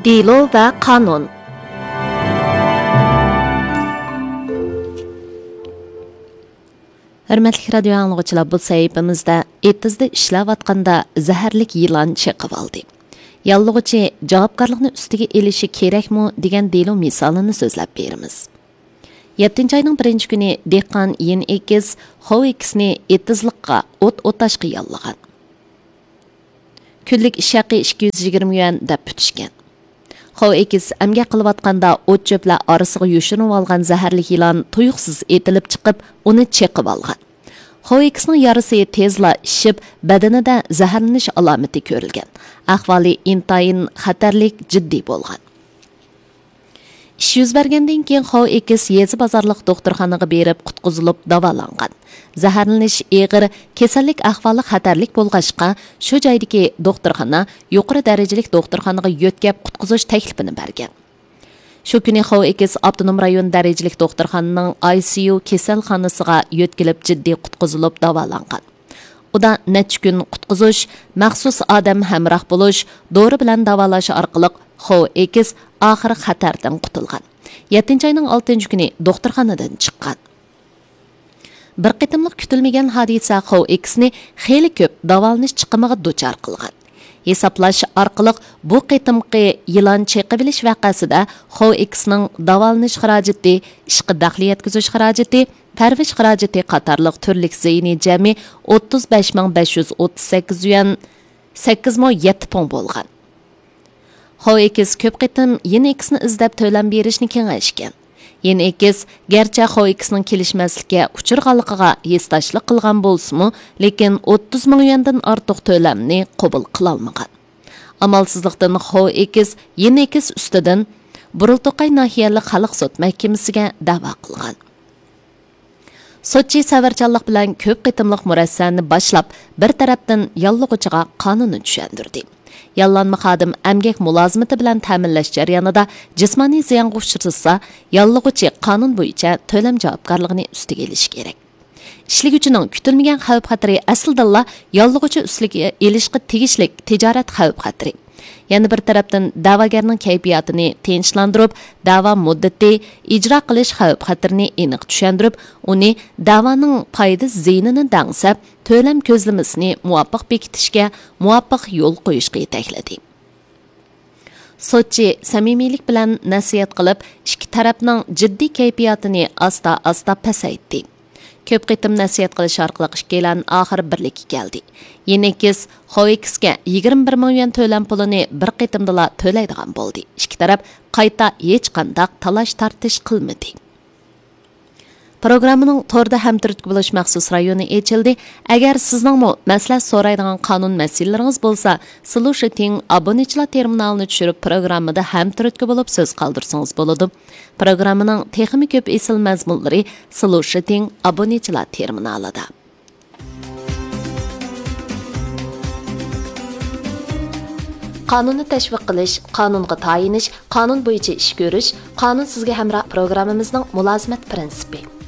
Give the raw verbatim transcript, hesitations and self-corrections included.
دېلو ۋە قانۇن. ھۆرمەتلىك رادىيو ئاڭلىغۇچىلار، بۇ سەھىپىمىزدە ئېتىزدا ئىشلەۋاتقاندا زەھەرلىك يىلان چېقىۋالدى. ياللۇغۇچى جاۋابكارلىقنى ئۈستىگە ئېلىشى كېرەكمۇ دېگەن دېلو مىسالىنى سۆزلەپ بېرىمىز. يەتتىنچى ئاينىڭ بىرىنچى كۈنى دېھقان يىن ئېكىس خو ئېكىسنى ئېتىزلىققا ئوت ئوتاشقا ياللىغان. كۈنلۈك ئىش ھەققى ئىككى يۈز يىگىرمە يۈەن دەپ پۈتۈشكەن. خو ئېكىس ئەمگەك قىلىۋاتقاندا ئوت چۆپلەر ئارىسىغا يوشۇرۇنۇۋالغان زەھەرلىك يىلان تۇيۇقسىز ئېتىلىپ چىقىپ، ئۇنى چېقىۋالغان. خو ئېكىسنىڭ يارىسى تېزلا ئىششىپ، بەدىنىدە زەھەرلىنىش ئالامىتى كۆرۈلگەن. ئەھۋالى ئىنتايىن خەتەرلىك، جىددىي بولغان. ئىش يۈز بەرگەندىن كېيىن خو ئېكىس يېزا بازارلىق دوختۇرخانىغا بېرىپ قۇتقۇزۇلۇپ داۋالانغان. زەھەرلىنىش ئېغىر، كېسەللىك ئەھۋالى خەتەرلىك بولغاچقا، شۇ جايدىكى دوختۇرخانا يۇقىرى دەرىجىلىك دوختۇرخانىغا يۆتكەپ قۇتقۇزۇش تەكلىپىنى بەرگەن. شۇ كۈنى خو ئېكىس ئاپتونوم رايون دەرىجىلىك دوختۇرخانىنىڭ ئاي سى يۇ كېسەلخانىسىغا يۆتكىلىپ جىددىي قۇتقۇزۇلۇپ داۋالانغان. ئۇدا نەچچە كۈن قۇتقۇزۇش، مەخسۇس ئادەم ھەمراھ بولۇش، دورا بىلەن داۋالاش ئارقىلىق خو ئېكىس ئاخىرى خەتەردىن قۇتۇلغان. يەتتىنچى ئاينىڭ ئالتىنچى كۈنى دوختۇرخانىدىن چىققان. بىر قېتىملىق كۈتۈلمىگەن ھادىسە خو ئېكىسنى خېلى كۆپ داۋالىنىش چىقىمىغا دۇچار قىلغان. ھېسابلاش ئارقىلىق بۇ قېتىمقى يىلان چېقىۋېلىش ۋەقەسىدە خو ئېكىسنىڭ داۋالىنىش خىراجىتى، ئىشقا دەخلى يەتكۈزۈش خىراجىتى، پەرۋىش خىراجىتى قاتارلىق تۈرلۈك زىيىنى جەمئىي ئوتتۇز بەش مىڭ بەش يۈز ئوتتۇز سەككىز يۈەن سەككىز مو يەتتە پۇڭ بولغان. خو ئېكىس كۆپ قېتىم يىن ئېكىسنى ئىزدەپ تۆلەم بېرىشنى كېڭەشكەن. يىن ئېكىس گەرچە خو ئېكىسنىڭ كېلىشمەسلىككە ئۇچرىغانلىقىغا ھېسداشلىق قىلغان بولسىمۇ، لېكىن ئوتتۇز مىڭ يۈەندىن ئارتۇق تۆلەمنى قوبۇل قىلالمىغان. ئامالسىزلىقتىن خو ئېكىس يىن ئېكىس ئۈستىدىن بۇرۇلتوقاي ناھىيەلىك خەلق سوت مەھكىمىسىگە دەۋا قىلغان. سوتچى سەۋرچانلىق بىلەن كۆپ قېتىملىق مۇرەسسەنى باشلاپ، بىر تەرەپتىن ياللىغۇچىغا قانۇننى چۈشەندۈردى. ياللانما خادىم ئەمگەك مۇلازىمىتى بىلەن تەمىنلەش جەريانىدا جىسمانىي زىيانغا ئۇچرىسا، ياللىغۇچى قانۇن بويىچە تۆلەم جاۋابكارلىقىنى ئۈستىگە ئېلىشى كېرەك. ئىشلىگۈچىنىڭ كۈتۈلمىگەن خەۋپ-خەتىرى ئەسلىدىنلا ياللۇغۇچى ئۈستىگە ئېلىشقا تېگىشلىك تىجارەت خەۋپ-خەتىرى. يەنە بىر تەرەپتىن، دەۋاگەرنىڭ كەيپىياتىنى تىنچلاندۇرۇپ، دەۋا مۇددىتى، ئىجرا قىلىش خەۋپ-خەتىرىنى ئېنىق چۈشەندۈرۈپ، ئۇنى دەۋانىڭ پايدا زىيىنىنى دەڭسەپ، تۆلەم كۆزلىمىسىنى مۇۋاپىق بېكىتىشكە، مۇۋاپىق يول قويۇشقا يېتەكلىدى. سوتچى سەمىمىيلىك بىلەن نەسىھەت قىلىپ، ئىككى تەرەپنىڭ جىددىي كەيپىياتىنى ئاستا-ئاستا پەسەيتتى. كۆپ قېتىم نەسىھەت قىلىش ئارقىلىق ئىككىيلەن ئاخىرى بىرلىككە كەلدى. يىنېكىس خوۋېكسكە يىگىرمە بىر مىڭ يۈەن تۆلەم پۇلىنى بىر قېتىمدىلا تۆلەيدىغان بولدى. ئىككى تەرەپ قايتا ھېچقانداق تالاش-تارتىش قىلمىدى. پروگراممىنىڭ توردا ھەمتۈرتكە بولۇش مەخسۇس رايونى ئېچىلدى. ئەگەر سىزنىڭمۇ مەسلىھەت سورايدىغان قانۇن مەسىلىلىرىڭىز بولسا، سلۇشىتىڭ ئابۇنىچىلار تېرمىنالىنى چۈشۈرۈپ، پروگراممىدا ھەمتۈرتكە بولۇپ سۆز قالدۇرسىڭىز بولىدۇ. پروگراممىنىڭ تېخىمۇ كۆپ ئېسىل مەزمۇنلىرى سلۇشىتىڭ ئابۇنىچىلار تېرمىنالىدا. قانۇننى تەشۋىق قىلىش، قانۇنغا تايىنىش، قانۇن بويىچە ئىش كۆرۈش، قانۇن سىزگە ھەمراھ پروگراممىمىزنىڭ مۇلازىمەت پىرىنسىپى.